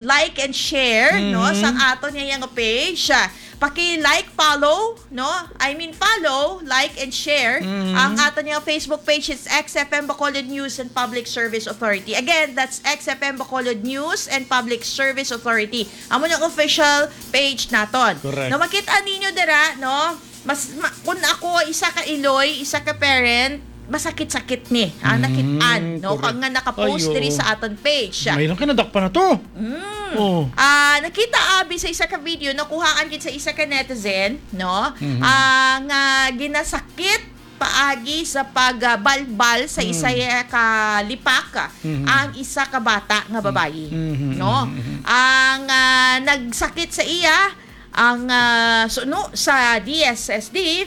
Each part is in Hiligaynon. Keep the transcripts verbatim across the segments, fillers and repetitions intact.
like and share, no, Mhm. sang aton nga, nga page. Ah, paki-like, follow, no? I mean, follow, like, and share Mhm. ang aton nga Facebook page. It's X F M Bacolod News and Public Service Authority. Again, that's X F M Bacolod News and Public Service Authority. Amo ang official page naton. Correct. No, makita ninyo dira, no? Mas, ma-, kung ako, isa ka iloy, isa ka parent, masakit-sakit ni ang Mm, nakit-an, no? correct. Kag nga nakapost Ay, diri oo. sa aton page. May lang ka nadakpan na to. Mm. Oo. Ah, nakita abi sa isa ka video, nakuhaan gid sa isa ka netizen, no? Mhm. Ah, nga ginasakit paagi sa pagbalbal sa isa Mm. ka lipak Mhm. ang isa ka bata nga babayi, Mhm, no? mhm, mhm. Ang, ah, nagsakit sa iya, ang, ah, suno sa D S S D,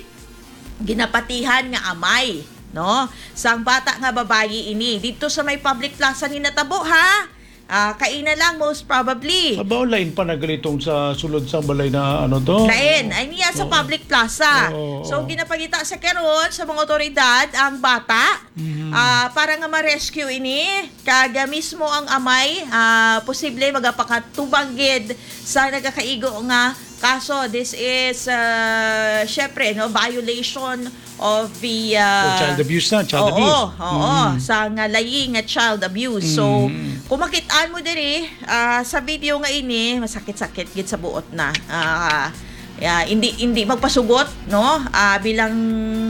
ginapatihan nga amay, no? Sang bata nga babayi ini. Didto sa may public plaza ni natabo, ha? Ah, kaina lang, most probably. Abaw, lain pa na ganitong sa sulod sa balay na ano to? Lain. Ay niya sa Oo. public plaza. Oo, So, oo. ginapangita sa karon sa mga otoridad ang bata, Mhm. ah, para nga ma-rescue ini. Kag, ah, mismo ang amay, ah, posible magapakatubang gid sa nagakaigo nga kaso. This is, ah, syempre, no, violation of the, ah, Oh, child abuse na, child oo, abuse. oo, Mm. sa nga layi nga child abuse. So, Mm. kung makit-an mo diri, ah, sa video nga ini, masakit-sakit gid sa buot na. Ah, ya, hindi, hindi magpasugot, no? Ah, bilang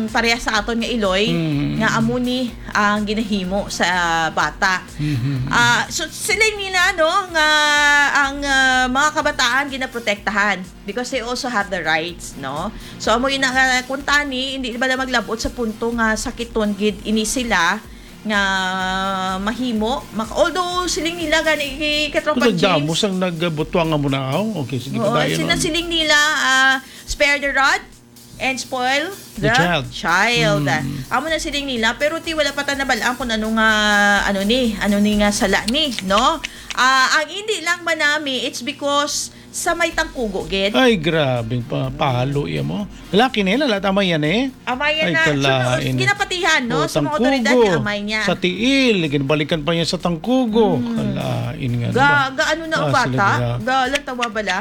pareha sa aton nga iloy, Mm. nga amo ni ang ginahimo sa bata. Mm. Ah, so, sila nila, no, nga ang, ah, mga kabataan ginaprotektahan. Because they also have the rights, no? So, amo yun nga, kung tani, hindi ba na maglabot sa punto nga sakiton gid ini sila nga mahimo? Mak-, although, siling nila gani, Katropa James. Nagdamo sang nagbutuang nga munaaw. Okay, sige, Oo, padayon sila, ang siling nila, ah, spare the rod and spoil The the child. child. Mm. Amo na siling nila, pero ti wala pa ta nabalaan kung ano nga, ano ni, ano ni nga sala ni, no? Ah, ang hindi lang manami, it's because sa may tangkugo gid. Ay, grabe, pa, pahalo iya mo. Lalaki na yun, lahat amay yan eh. Amay yan Ay, na. So, kalain. ginapatihan, no? Oh, Sa mga otoridad tangkugo, nga amay niya. Sa tiil, ginbalikan pa niya sa tangkugo. Hmm. Kalain nga Ga, naman. ga ano na ang Ah, sila bata? nila. Ga lantawa bala?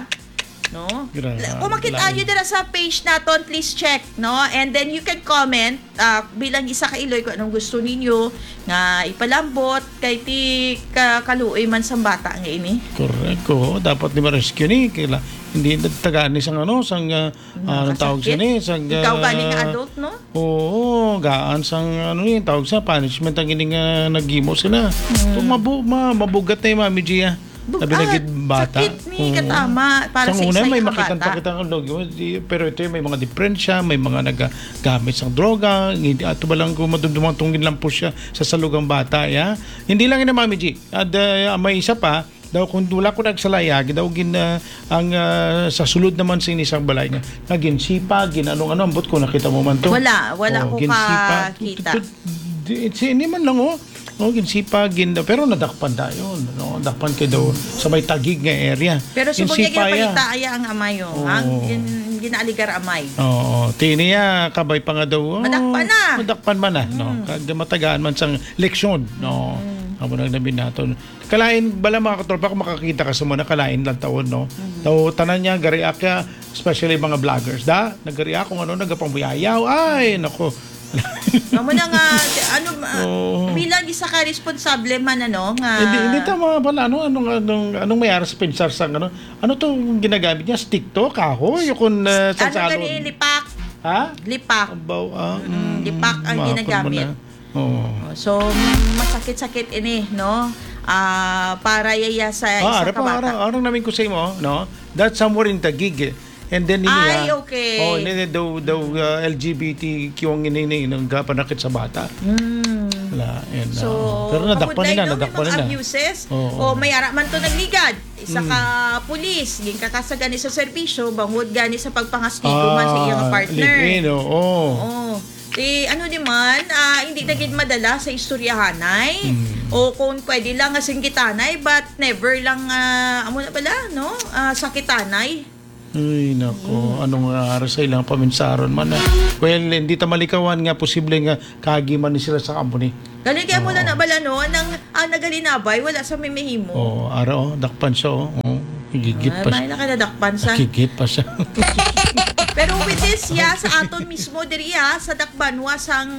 No? Grabe, Kung makita lain. nyo dira sa page naton, please check, no? And then you can comment, ah, bilang isa ka iloy kung anong gusto ninyo nga ipalambot kay ti ka-, kaluoy man sang bata nga ini. Correct, oo. Dapat ni ma-rescue ni. Kaila-, hindi nagtagaan ni sang ano, sang, ah, Mm, ah, anong tawag siya kasakit. ni? Sang, Ikaw gani nga ah, adult, no? Oo, gaan sang ano ni, tawag sa punishment ang ini nga naghimo sila. Mm. So, mabu-, ma-, mabugat na yung Mami G, ah. Bug-, Labi na ah, gid bata. sakit ni Oo. katama para Sang sa una, isa may ka makita bata. pa kita ang log-, di-, pero ito yung may mga diperensya, may mga nagagamit sang droga, hindi, ato ba lang kung madumduman tong ginlampos siya sa salugang bata, ya? Hindi lang yun, Mami G. At, uh, may isa pa, daw kung wala ko nagsalaya, daw gin, uh, ang, uh, sa sulod naman sa inisang balay nga, nga ginsipa, gin anong-ano, ambot ko nakita mo man to. Wala, wala Oh, ko ginsipa. kakita. Tu-, tu-, tu-, di, si, hindi man lang, oh. Oh, ginsipa, gin, pero nadakpan dayon, no? Dakpan kay daw sa may Taguig nga area. Pero subong niya Ginsipa, ya. ginapangita, aya ang amay, oh, ha? Oo. Gin-, ginaaligar amay. Oo, tiniya, kabay pa nga daw, oh, Madakpan na. madakpan man na, no? Mm. Kag matagaan man sang leksyon, no? Mm. Amo nang namin naton. Kalain, bala, mga katropa, kung makakita ka sa mga kalain lang taon, no? Mm. Daw, tanan niya, gari akya, especially mga vloggers, da? Nagari ako, ano, nagapamuyayaw. Ay, nako. Amo na nga, ano, ah, Oo. bilang isa ka responsable man, ano, nga Hindi, hindi tama pala. Ano, anong, anong, anong may aras pensar sa, ano, ano to ang ginagamit niya? Stick to? Kahoy? Yung kung, uh, sa Ano salon? gani, lipak? Ha? Lipak. Abaw, ah, Mm, mm, lipak ang mapon mo ginagamit. na. Oo. Oh, so, masakit-sakit ini, no? Ah, para yaya sa Ah, isa ara ka pa, bata. ara, ara namin ko sa imo, no? That's somewhere in Taguig, eh. And then, ini, Ay, ah, okay. oh, ini, ini, daw, daw, ah, L G B T Q ang ini, ini, nang kapanakit sa bata. Mm. Wala, yan, So, ah. Pero nadakpan amod nila, na, no? May nadakpan mga nila. abuses. Oo. O, may ara man to nagligad. Isa Mm. ka pulis, ginkakasa gani sa serbisyo, bangod gani sa pagpangastigo man sa iyang Ah, partner. live-in, oo. Oo. Eh, ano di man, ah, hindi na gid madala sa istoryahanay. Mm. O kung pwede lang nga singgitanay, but never lang, ah, amo na pala, no? Ah, sakitanay. Ay, nako. Mm. Anong, ah, ara sa ilang paminsaron man, ah? Well, hindi ta malikawan nga posible nga kaagi man ni sila sa amo ni. Gali kay amo lang Oo. na bala, no? Nang, ang nagalinabay, wala sa may mahimo. Oo, ara, oh, dakpan siya, oh. Oh, higigit Ah, pa may siya. Nakanadakpan sa. Higigit pa siya. Pero with this, ya, sa aton mismo diri, ah, sa Dakbanwa sang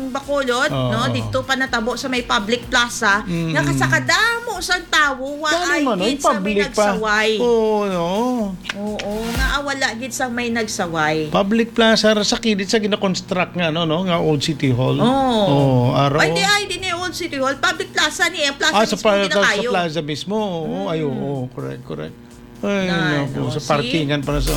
Bacolod, Oo. no? Dito pa natabo sa may public plaza, Mm. nga kasakadamo sang tawo, wa Gani ay man, gid sa may public pa. Nagsaway. Oo, no? Oo, nga wala gid sa may nagsaway. Public plaza ra sa kilid sa gina-construct nga, ano, no, nga old City Hall. Oo. Oo, aro. Ay, di, ay, di ni old City Hall. Public plaza ni, ang plaza Ah, sa mismo, pa-, sa, sa ginakayo. Plaza mismo. Oo, ay, Mm. oo, correct, correct. Ay, Na, naku, no, sa see? Parkingan pa na sa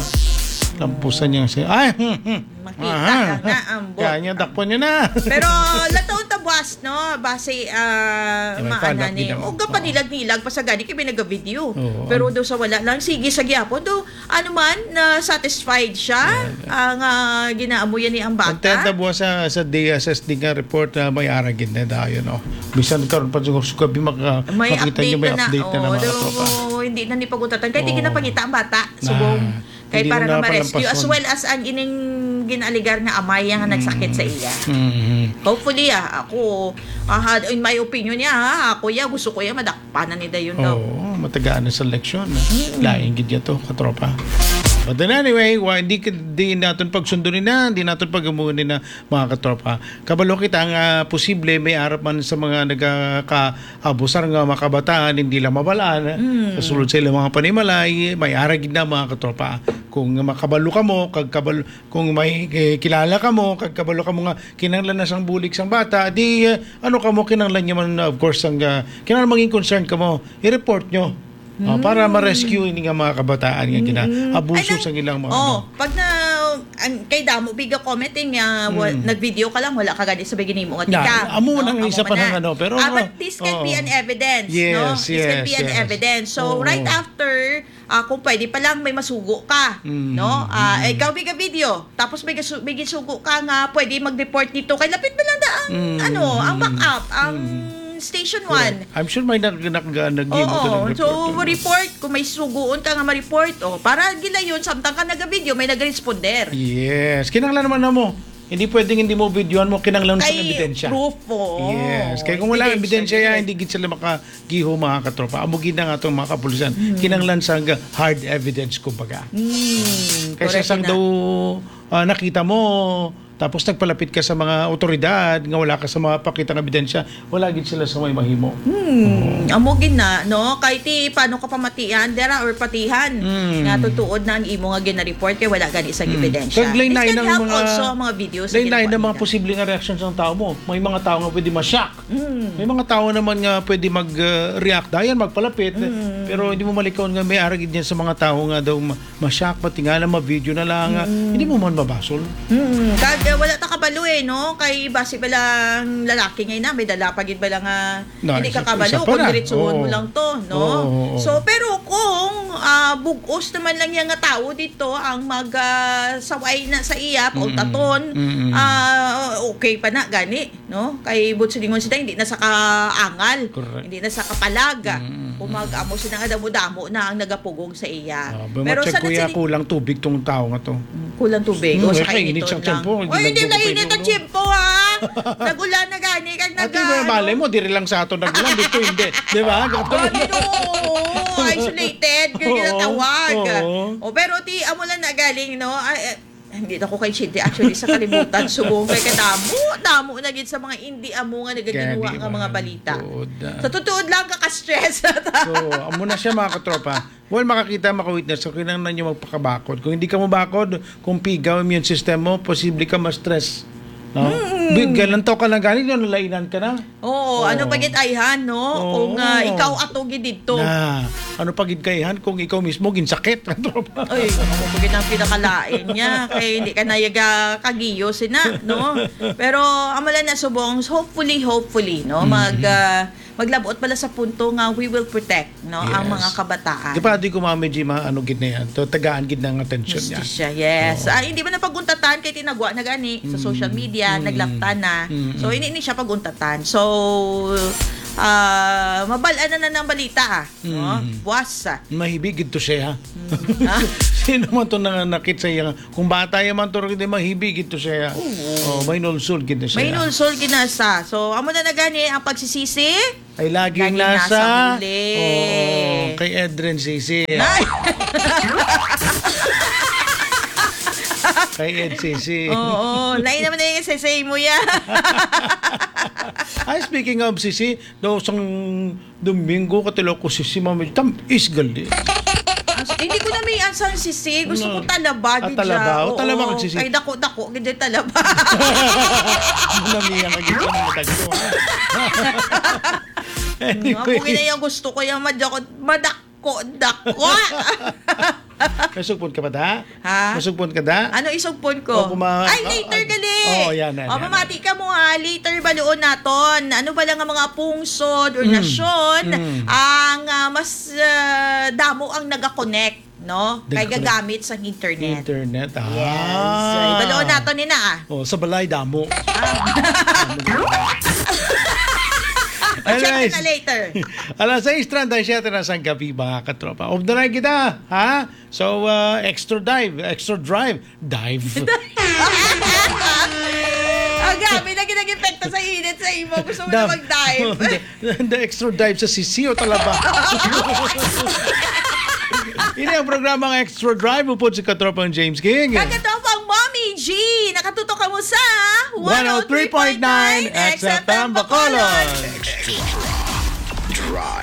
lampusan niya siya. Ay, hmm, hmm. Makita Aha. ka nga ang bu- Kanya, dakpan niya na. Pero, lataon ta buwas, no? Base, ah, May maana fana't ni. Ginoo. O, gapanilag-nilag pa sa gani kay may nagavideo. Oo. Pero do sa wala lang, sige sa gyapon. Do, ano man, na satisfied siya, Yeah, yeah. ang, ah, ginaamuyan ni ang bata. Contenta buwas sa, sa D S S D nga report na may ara gid na dayon, no? Bisan karon pa siguro sa gabi maka-, May makita niyo, update may na na. Update na na, Oh, mga do, tropa. hindi na ni pagutatan. Kay di Oo. ginapangita ang bata. Subong. Na, Kay hindi para na na ma-rescue, as napalampason. Well as ang ining ginaligar nga amay nga nagsakit sa Mm. iya. Mm. Hopefully, ah, ako, ah, had-, in my opinion niya, ha, ako, ya, gusto ko, ya, madakpanan ni dayon daw. Oo, matagaan na sa eleksyon. Mm. Lain gid ya to, katropa. But then anyway, wa, hindi, hindi naton pagsundo ni na, hindi naton pag-umuon ni na, mga katropa. Kabalo kita nga posible may arap man sa mga nagaka-, abusar nga mga kabataan, hindi lang mabalaan, Mm. sa sulod sa ilang mga panimalay, may ara gid na, mga katropa. Kung makabalo ka mo, kag kabalo, kung may, eh, kilala ka mo, kag kabalo ka mo nga kinahanglan na sang bulig sang bata, di, eh, ano ka mo, kinahanglan niya man, of course, ang, ah, kinahanglan maging concern ka mo, i-report nyo. Ah, para Mm. ma-rescue ini nga mga kabataan nga Mm-mm. ginaabuso Ay, nang-, sa ilang mga oh, ano. Pag na, ang, kay damo, biga comment, eh, nga, wa-, Mm. nag-video ka lang, wala ka gani sa ginimo nga Na, tika. Amo No? nang Amo isa pa man nang na. ano, pero Ah, nga, but this can be oo. An evidence, Yes, no? This can yes, be an yes. evidence. So, Oo. Right after, ah, kung pwede pa lang, may masugo ka, Mm, no? Ah, mm. Ikaw, biga video, tapos may gasu-, may gisugo ka nga pwede mag-report dito. Kay lapit na lang da ang, Mm, ano, ang mm, backup, ang mm. Station Correct. One. I'm sure may nag-, nag-, nag-, nag-, Oo. nag-report So, dun. Report, kung may suguon ka nga ma-report, oh, para gilayon, samtang ka naga-video, may nag-responder. Yes. Kinahanglan naman na mo. Hindi pwedeng hindi mo videohan mo, kinahanglan sa Ay, ebidensya. Proof, oo. Yes. Kaya kung wala Ebidensya, ebidensya yan, yes. Hindi gid sila makagiho, mga katropa. Amo gid na nga itong mga kapulisan. Hmm. Kinahanglan sa hard evidence, kumbaga. Hmm, Kaysa correct sang na. Daw, ah, nakita mo, tapos nagpalapit ka sa mga otoridad nga wala ka sa mga pakitang ebidensya, wala gid sila sa may mahimo. Hmm, Oo. Amo gid na, no? Kay ti, paano ka pamatian, dera or patihan? Hmm. Nga tutuod na ang imo nga gina-report kay wala gani isang Hmm. Ebidensya. Kag lain-lain This can ang help mga, also ang mga videos na lain-lain ang ginakuha mga nila. Posible nga reaksyon sang tao mo. May mga tao nga pwede ma-shock. Hmm. May mga tao naman nga pwede mag, uh, react dayon, magpalapit. Hmm. Pero hindi mo malikon nga may ara gid yan sa mga tao nga daw ma-, ma-shock, matingala, ma-video na lang, ah, Mm. hindi mo man mabasol. Mm. Kag, eh, wala ta kabalo eh, no? Kay basi ba lang lalaki ngay na, may dala pa gid ba lang, ah, Na, hindi isa, ka kabalo isa pa kung na. Diretsuhon mo Oo. Lang to, no? Oo, oo, oo. So, pero kung, ah, bug-os naman lang yan nga tao dito ang mag, ah, saway na sa iya, Mm. Pautaton, Mm. ah, okay pa na, gani. No? Kay buot silingon sila, hindi na sa kaangal, Correct. Hindi na sa kapalag. Mm, mm, Kung mm. Mag-amo sila nga damo-damo na ang nagapugong sa iya. Ah, ba, Pero ma-check sa ko ya, nagsiling- kulang tubig tong tao nga to. Mm, kulang tubig. Mm, O, sa eh, kainit kainiton sa lang. Tiyempo, Oy, hindi hindi lang nainit ang pinupino. Tiyempo, ha? Nag-ulan na gani, kag Ate, nag-, may malay ano? Mo, diri lang sa ato nag-ulan, dito hindi. Di ba? Gatulog Ay, na. Oo, isolated, kaya Oo, ginatawag. Oo. O, pero ti, amo lang na galing, no? Ay, eh, Hindi na ko kay Chidi, actually, sa kalibutan. Subong kay kadamo, damo na gid sa mga hindi amo nga nagaginwa Gani nga mga man, balita. Tuod na. Sa tutuod lang, kaka-stress na ta. So, amo na siya, mga katropa. Well, makakita, makawitness. So, kinahanglan nyo magpakabakod. Kung hindi ka mabakod, kung pigaw ang immune system mo, posible ka ma-stress. No? Mm. Bi-, galantaw ka lang gani, no? Nalainan ka na. Oo, Oo. Ano pa gid ayhan, no? Oo. Kung, ah, ikaw ato gid didto. Na, ano pa gid kaihan kung ikaw mismo ginsakit, tropa? Ay, ano pa gid ang pinakalain niya? Kay hindi ka na yaga kagiyo sina, no? Pero, amo lang na subong, hopefully, hopefully, no? Mm. Mag, ah, maglabot pala sa punto nga we will protect, no? Ang Yes. Mga kabataan. Di pa, di ko, Mami G, ma-, ano gid na yan. To, tagaan gid na ang atensyon niya. Justisya, yes. Oo. Ah, hindi man na pag-untatan kay tinagwa na gani sa Mm. social media, Mm. Naglaptan na. Mm. So, hindi ni siya pag-untatan. So, Ah, mabal-an na na ng balita, ah. No? Mm. Buwas, ah. Mahibi gid to siya. Mm. Ah? Sino man to nanganakit sa iya? Kung bata ya man to, hindi mahibi gid to siya. Oo. Oh, may nulsol gid na siya. May nulsol gid na sa. So, amo na na gani ang pagsisisi. Ay, laging Laging nasa nasa huli. Oo, kay Edren Sisi. Ay! Kay Ed Sisi. Oo, lain naman na yung sisi mo yan. Ay, speaking of sisi, daw sang Domingo, katilo ko sisi, mami, tam, is gali. As, hindi ko na may ansang sisi. Gusto ko No. talaba, Ah, gid talaba. siya. O, talaba Oo, kag sisi. Kay dako-dako, gid yung talaba. Namiya ka gid sa mga tagpo, ha? Anyway. Amo gina yung gusto ko, yung madako-, madako-dako. Masugpon ka ba, da? Ha? Masugpon ka, da? Ano isugpon ko? O, kuma- Ay, ah, later ah, gali. Oo, yan, yan, O, yan, mamati yan. ka mo, ha. Later, baluon naton. Ano ba lang ang mga pungsod or Mm. nasyon Mm. ang, ah, mas, ah, damo ang nagakonect, no? Kay Nagakonect. gagamit sa internet. Internet, ah. Yes. So, ibaluon naton ni na, ah. O, sa balay, damo. Ah. Check Anyways, na later. Alas sais treinta y siete na sang gabi, mga katropa. Off the line kita, ha? So, uh, extra dive, extra drive, dive. Ang grabe, lagi nag-epekto sa init sa imo. Gusto mo na Dam- mag-dive. The, the extra dive sa sisi o talaba. Ini ang programang Extra Drive, upod si Katropang James King. Kag Katropang Mommy G, nakatutok ka mo sa one oh three point nine X F M Bacolod. Extra Drive.